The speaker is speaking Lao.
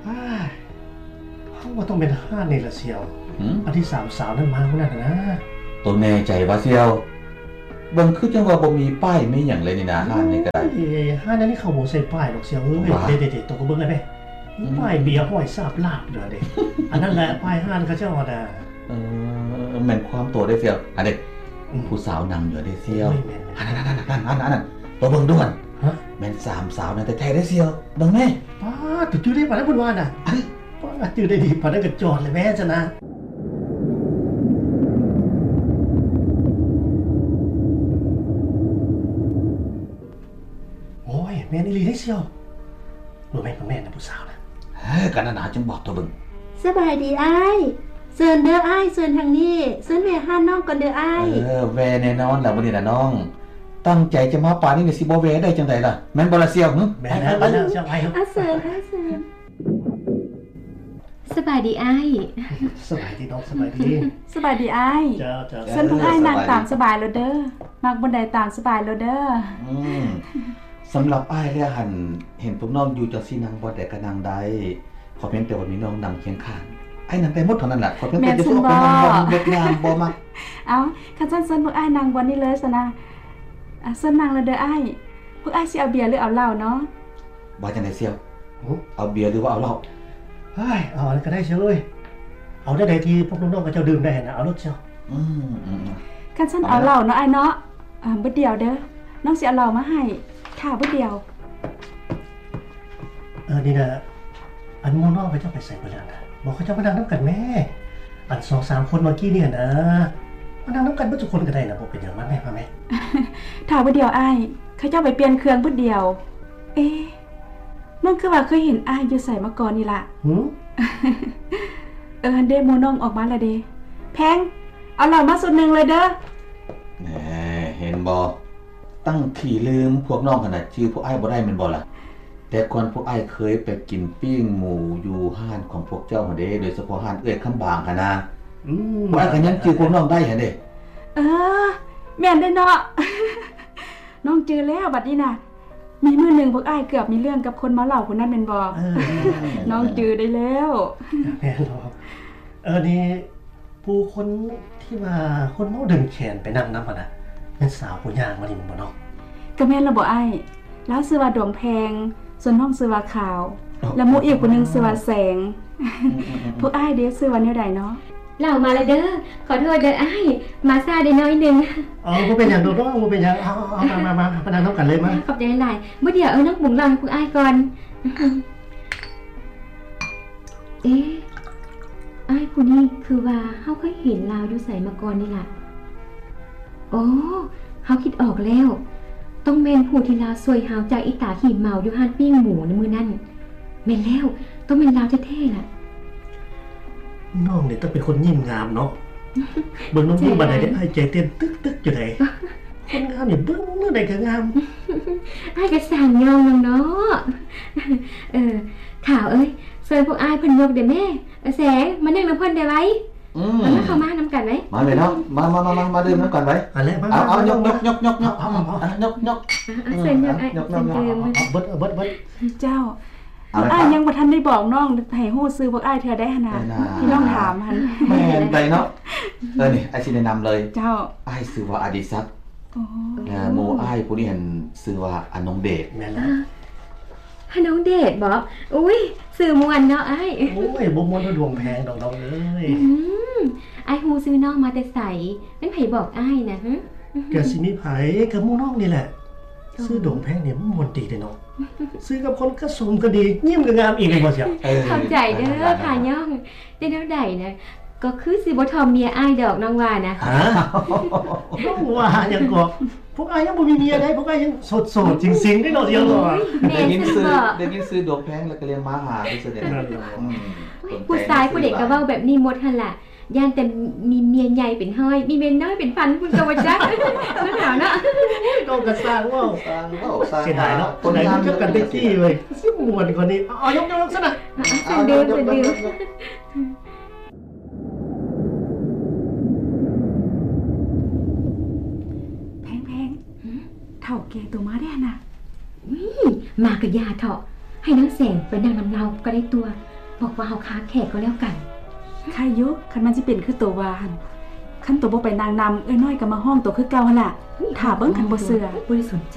ອ້າຍ ເຮົາວ່າຕ້ອງແມ່ນຮ້ານນີ້ລະສ່ຽວ. ຫືມ? ອັນທີ່ສາມສາວນັ້ນມາມື້ນັ້ນນະ. ໂຕແນ່ໃຈຫວາສ່ຽວ? ເບິ່ງຄືຈັ່ງວ່າບໍ່ມີປ້າຍມີຫຍັງເລີຍນີ້ນາ. ຮ້ານນີ້ກໍໄດ້. ໂອ້ຍ ຮ້ານອັນນີ້ເຂົາບໍ່ໃສ່ປ້າຍດອກສ່ຽວເອີຍ. ເດໆໆ ໂຕກໍເບິ່ງໄດ້ເດ້. ອືມ ປ້າຍເບຍຫ້ອຍສາບລາບຢູ່ຫັ້ນເດ້. ອັນນັ້ນແຫຼະ ປ້າຍຮ້ານເຂົາເຈົ້າຫັ້ນນະ. ເອີ ແມ່ນຄວາມໂຕເດ້ສ່ຽວ. ອັນເດ້ ອືມ ຜູ້ສາວນັ່ງຢູ່ເດ້ສ່ຽວ. ໂອ້ຍ ແມ່ນໆ ອັນນັ້ນໆ ໂຕເບິ່ງດູຫັ້ນ. ຮະ? ແມ່ນສາມສາວນັ້ນແທ້ໆເດ້ສ່ຽວ. ເບິ່ງແມ້. ປ້າດ ໂຕຈື່ໄດ້ປານນັ້ນພຸ້ນວ່ານະ. ເອີ ປ້າດ ຈື່ໄດ້ດີປານນັ້ນກໍຈອດແລ້ວແມ້ຊັ້ນນະ. ໂອ້ຍ ແມ່ນອີ່ຫຼີເດ້ສ່ຽວ. ບໍ່ແມ່ນ ບໍ່ແມ່ນນະ ຜູ້ສາວນະ. ເອີ ກໍນັ້ນນະ ຈຶ່ງບອກໂຕເບິ່ງ. ສະບາຍດີອ້າຍ. ເຊີນເດີອ້າຍ ເຊີນທາງນີ້. ເຊີນແວ່ຮ້ານນ້ອງກ່ອນເດີອ້າຍ. ເອີ ແວ່ແນ່ນອນລະມື້ນີ້ນະນ້ອງ. ຕັ້ງໃຈຈະມາປານນີ້ ຊິບໍ່ແວ່ໄດ້ຈັ່ງໃດລະ? ແມ່ນບໍ່ລະສ່ຽວ? ຫຶ? ແມ່ນແລ້ວ ແມ່ນແລ້ວ ສ່ຽວໄປ. ອາ ເຊີນອ້າຍ ເຊີນ. ສະບາຍດີອ້າຍ. ສະບາຍດີນ້ອງ ສະບາຍດີ. ສະບາຍດີອ້າຍ. ເຈົ້າ ເຈົ້າ. ເຊີນພວກອ້າຍນັ່ງຕາມສະບາຍໂລດເດີ. ມັກບ່ອນໃດຕາມສະບາຍໂລດເດີ. ອືມ ສຳລັບອ້າຍແລ້ວຫັ້ນ ເຫັນພວກນ້ອງຢູ່ຈັ່ງຊີ້ ນັ່ງບ່ອນໃດກໍນັ່ງໄດ້. ຂໍພຽງແຕ່ວ່າມີນ້ອງນຳຄຽງຂ້າງ ອ້າຍນັ່ງໄດ້ໝົດເທົ່ານັ້ນລະ. ຂໍພຽງແຕ່ຈະອອກໄປນັ່ງບ່ອນເວັດງາມບໍ່ມັກ. ເອົ້າ ຄັນຊັ້ນເຊີນພວກອ້າຍນັ່ງບ່ອນນີ້ເລີຍຊັ້ນນະ. ອາ ເຊີນນັ່ງແລ້ວເດີອ້າຍ. ພວກອ້າຍຊິເອົາເບຍ ຫຼື ເອົາເຫຼົ້າເນາະ? ວ່າຈັ່ງໃດສ່ຽວ? ຫື? ເອົາເບຍ ຫຼື ວ່າເອົາເຫຼົ້າ? ເຮີ້ຍ ເອົາອັນໃດກໍໄດ້ສ່ຽວເອີຍ. ເອົາແນວໃດທີ່ພວກນ້ອງໆເຂົາເຈົ້າດື່ມໄດ້ຫັ້ນນະ ເອົາໂລດສ່ຽວ. ອືມໆໆ. ຄັນຊັ້ນເອົາເຫຼົ້າເນາະອ້າຍເນາະ. ອາ ບຶດດຽວເດີ ນ້ອງຊິເອົາເຫຼົ້າມາໃຫ້. ຖ້າບຶດດຽວ. ເອີ ນີ້ນະ ອັນໝູ່ນ້ອງເຂົາເຈົ້າໄປໃສເບິດແລ້ວນະ? ບອກເຂົາເຈົ້າມານັ່ງນຳກັນແມ້. ອັນສອງສາມຄົນເມື່ອກີ້ນີ້ຫັ້ນນະ ມານັ່ງນຳກັນເບິດທຸກຄົນກໍໄດ້ນະ ບໍ່ເປັນຫຍັງ. ມາແມ້ ມາແມ້. ຖ້າບຶດດຽວອ້າຍ ເຂົາເຈົ້າໄປປ່ຽນເຄື່ອງບຶດດຽວ. ເອ ນ້ອງຄືວ່າເຄີຍເຫັນອ້າຍຢູ່ໃສມາກ່ອນນີ້ລະ. ຫື? ເອີ ຫັ້ນເດ້ ໝູ່ນ້ອງອອກມາລະເດ້. ແພງ ເອົາເຫຼົ້າມາຊຸດໜຶ່ງເລີຍເດີ. ແນ່ ເຫັນບໍ່? ຕັ້ງຂີ້ລືມ ພວກນ້ອງຫັ້ນນະ ຈື່ພວກອ້າຍບໍ່ໄດ້ແມ່ນບໍ່ລະ? ແຕ່ກ່ອນພວກອ້າຍເຄີຍໄປກິນປີ້ງໝູຢູ່ຮ້ານຂອງພວກເຈົ້າຫັ້ນເດ້ ໂດຍສະເພາະຮ້ານເອື້ອຍຄຳບາງຫັ້ນນະ. ອືມ ພວກອ້າຍກໍຍັງຈື່ພວກນ້ອງໄດ້ຫັ້ນເດ້. ເອີ ແມ່ນເດ້ເນາະ. ນ້ອງຈື່ແລ້ວບັດນີ້ນະ. ມີມື້ໜຶ່ງພວກອ້າຍເກືອບມີເລື່ອງກັບຄົນເມົາເຫຼົ້າຜູ້ນັ້ນແມ່ນບໍ່? ເອີ ນ້ອງຈື່ໄດ້ແລ້ວ. ແມ່ນບໍ່? ເອີ ນີ້ ຜູ້ຄົນທີ່ວ່າຄົນເມົາດຶງແຂນໄປນັ່ງນຳຫັ້ນນະ ແມ່ນສາວຜູ້ຍ່າງມານີ້ແມ່ນບໍ່ນ້ອງ? ກໍແມ່ນລະບໍ່ອ້າຍ. ລາວຊື່ວ່າດວງແພງ ສ່ວນນ້ອງຊື່ວ່າຂາວ ແລະ ໝູ່ອີກຜູ້ໜຶ່ງຊື່ວ່າແສງ. ອືມໆໆໆ. ພວກອ້າຍເດຊື່ວ່າແນວໃດເນາະ? ເຫຼົ້າມາແລ້ວເດີ. ຂໍໂທດເດີອ້າຍ ມາຊ້າໄດ້ໜ້ອຍໜຶ່ງ. ອໍ ບໍ່ເປັນຫຍັງດອກນ້ອງ ບໍ່ເປັນຫຍັງ. ເອົາໆໆ ມາໆໆ ມານັ່ງນຳກັນເລີຍ ມາ. ຂອບໃຈຫຼາຍ. ບໍ່ດຽວ ເອີ ນ້ອງປຸງເຫຼົ້າໃຫ້ພວກອ້າຍກ່ອນ. ເອ ອ້າຍຜູ້ນີ້ຄືວ່າເຮົາເຄີຍເຫັນລາວຢູ່ໃສມາກ່ອນນີ້ລະ. ອໍ ເຮົາຄິດອອກແລ້ວ. ຕ້ອງແມ່ນຜູ້ທີ່ລາວຊ່ວຍເຮົາຈາກອີຕາຂີ້ເມົາຢູ່ຮ້ານປີ້ງໝູໃນມື້ນັ້ນ. ແມ່ນແລ້ວ ຕ້ອງແມ່ນລາວແທ້ໆລະ. ນ້ອງນີ້ຕ້ອງເປັນຄົນຍິ້ມງາມເນາະ. ເບິ່ງນ້ອງຢູ່ບັນໄດນີ້ ໃຈເຕັ້ນຕຶກໆຢູ່ໃດ. ຄົນງາມນີ້ເບິ່ງແນວໃດກໍງາມ. ອ້າຍກໍຊ່າງຍ້ອງນ້ອງເນາະ. ເອີ ຂາວເອີຍ ເຊີນພວກອ້າຍເພິ່ນຍົກເດ້ແມ້. ເອີ ແສງ ມານັ່ງນຳເພິ່ນເດ້ໄວ. ອືມ ມາ ເຂົ້າມານຳກັນໄວ. ມາເລີຍເນາະ ມາໆໆໆ ມາດື່ມນຳກັນໄວ. ເອົາ ເອົາ ຍົກໆໆໆ ຍົກໆ ຍົກໆ ຍົກໆ. ເຊີນຍົກ ເຊີນດື່ມ. ເບິດ ເບິດ ເບິດ. ເຈົ້າ ອ້າຍຍັງບໍ່ທັນໄດ້ບອກນ້ອງໃຫ້ຮູ້ຊື່ພວກອ້າຍເທື່ອໃດຫັ້ນນະ ທີ່ນ້ອງຖາມຫັ້ນ. ແມ່ນໃດເນາະ. ເອີ ນີ້ ອ້າຍຊິແນະນຳເລີຍ. ເຈົ້າ ອ້າຍຊື່ວ່າອະດິສັກ. ໂອ້ ແລະ ໝູ່ອ້າຍຜູ້ນີ້ຫັ້ນຊື່ວ່າອານົງເດດ. ແມ່ນແລ້ວ. ອາ ອານົງເດດບໍ? ອຸ້ຍ ຊື່ມ່ວນເນາະອ້າຍ. ໂອ້ຍ ບໍ່ມ່ວນເທົ່າດວງແພງດອກນ້ອງເອີຍ. ອືມ ອ້າຍຮູ້ຊື່ນ້ອງມາແຕ່ໃສ? ແມ່ນໃຜບອກອ້າຍນະ? ຫຶ ກະຊິມີໃຜ ກະໝູ່ນ້ອງນີ້ແຫຼະ. ຊື່ດວງແພງນີ້ມັນມ່ວນດີເດ້ເນາະ. ຊື່ກັບຄົນກະສົມກະດີ ຍິ້ມກະງາມອີກແມ່ນບໍ່ຊຽວ? ເອີ ຂອບໃຈເດີ ຂາຍ້ອງ. ແຕ່ແນວໃດນະ ກໍຄືຊິບໍ່ຖ່ອມເມຍອ້າຍດອກ ນ້ອງວ່ານະ. ຮະ? ນ້ອງວ່າຫຍັງເກາະ? ພວກອ້າຍຍັງບໍ່ມີເມຍໃດ໋ ພວກອ້າຍຍັງໂສດໆ ຊິງໆ ເດ້ເນາະ ຊຽວເນາະ. ໂອ້ຍ ໄດ້ຍິນຊື່ ໄດ້ຍິນຊື່ດວງແພງແລ້ວກໍເລີຍມາຫາຊື່ໆ ນີ້. ອືມ ໂອ້ຍ ຜູ້ຊາຍຜູ້ໃດກໍເວົ້າແບບນີ້ໝົດຫັ້ນລະ. ຢ້ານແຕ່ມີເມຍໃຫຍ່ເປັນຮ້ອຍ ມີເມຍນ້ອຍເປັນພັນພຸ້ນກໍບໍ່ຈັກ. ເນາະ ເນາະ. ໂອ້ຍ ເວົ້າກໍຊ່າງເວົ້າ ຊ່າງເວົ້າ ຊ່າງ. ເສຍດາຍເນາະ ຄົນງາມຮູ້ຈັກກັນແຕ່ກີ້ເວີຍ ຊິມ່ວນກວ່ານີ້. ເອົາ ຍົກໆ ຊັ້ນນະ. ເອົາ ເຊີນດື່ມ ເຊີນດື່ມ. ແພງໆ ຫຶ ເຖົ້າແກ່ໂຕມາແດ່ນະ. ອຸ້ຍ ມາກະຢ່າເຖາະ ໃຫ້ນາງແສງໄປນັ່ງນຳລາວກໍໄດ້ຕົວະ. ບອກວ່າເຮົາຄາແຂກກໍແລ້ວກັນ. ໄຄຢູ່ ຄັນມັນຊິເປັນຄືໂຕວ່າຫັ້ນ. ຄັນໂຕບໍ່ໄປນາງນຳ ເອື້ອຍນ້ອຍກໍມາຮ້ອງໂຕຄືເກົ່າຫັ້ນລະ. ຖ້າເບິ່ງ ຄັນບໍ່ເຊື່ອ. ບໍ່ໄດ້ສົນໃຈ.